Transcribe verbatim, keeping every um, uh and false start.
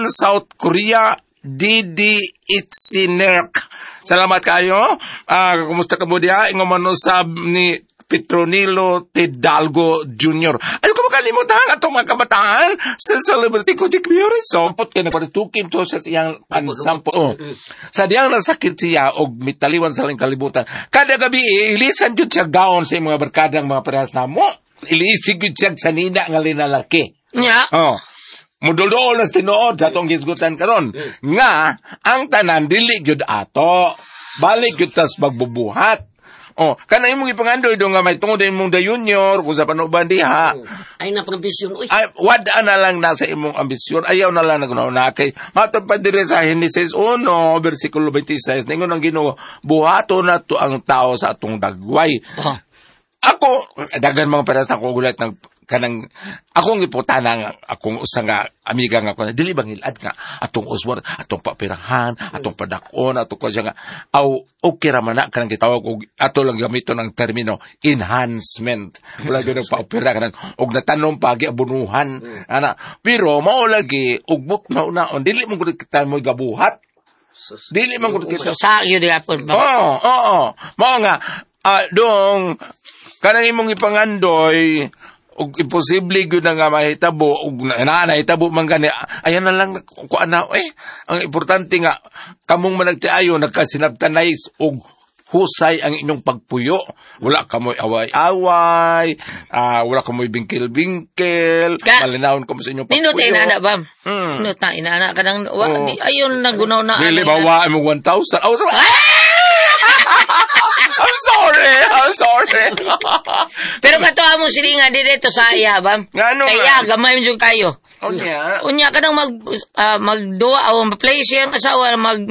South Korea, Didi Itsinerk. Salamat kayo. Ah, kumusta ka mo diha? Ingon man usab ni Petronilo Tidalgo Junior Ayaw ko makalimutan ang atong mga kabataan sa celebrity ko Dick Mary. Sampot kay nagpatukim to sa iyang pansampot. Oh. Sa diyang nasakit siya og mitaliwan sa lang kalibutan. Kada gabi ilisan jud siya gaon sa iyang mga barkadang mga parehas namo. Ilisig jud siya sa nina nga linalaki. Nya. Oh. Mudulduol na sa tinuod sa atong gisgutan karon nga ang tanan dili gyud ato. Balik gyud tas magbubuhat. Oh, kana imong ipangandoy do nga may tungod imong da junior kung sa panuban diha. Ay na pang ambisyon uy. Ay, wada na lang na sa imong ambisyon. Ayaw na lang na kay matod pa diri sa Genesis one versikulo twenty-six, ningon ang Ginoo, buhaton na to ang tao sa atong dagway. Oh. Ako, daghan mga pares na ako gulat ng kanang akong iputana nga akong usa nga amiga nga ko, dili bang hilad nga atong uswar, atong papirahan, atong padakon, atong ko siya nga aw okay ra man na kanang gitawag og ato lang gamiton ang termino enhancement, wala gyud nagpaopera kanang og natanom pa giabunuhan ana, pero mao lagi ugbot na una dili mo gud kita mo gabuhat, dili man gud kita. So, sa iyo di apon. Oo, oo. Mao nga, ah, dong, kanang imong ipangandoy, ug imposible gyud na nga mahitabo, ug na, na nahitabo man gani, ayan na lang, kuan na, eh, ang importante nga, kamong managtiayo, nagkasinabtanay og husay ang inyong pagpuyo. Wala kamoy away-away, ah, wala kamoy bingkil-bingkil, Ka- malinawon kamo sa inyong pagpuyo. Nindot inaana ba? Mm. Nindot na inaana ka nang wa Oo. di ayon nagunaw na Dili ano, ba wa mo one thousand? Oh, sorry. I'm sorry. I'm sorry. Pero kato among silingan di dito sa iya ba? Ngano Kaya man? Gamay mo jud kayo. Unya. Unya kanang mag ah, magduwa o ma-play siyang asawa mag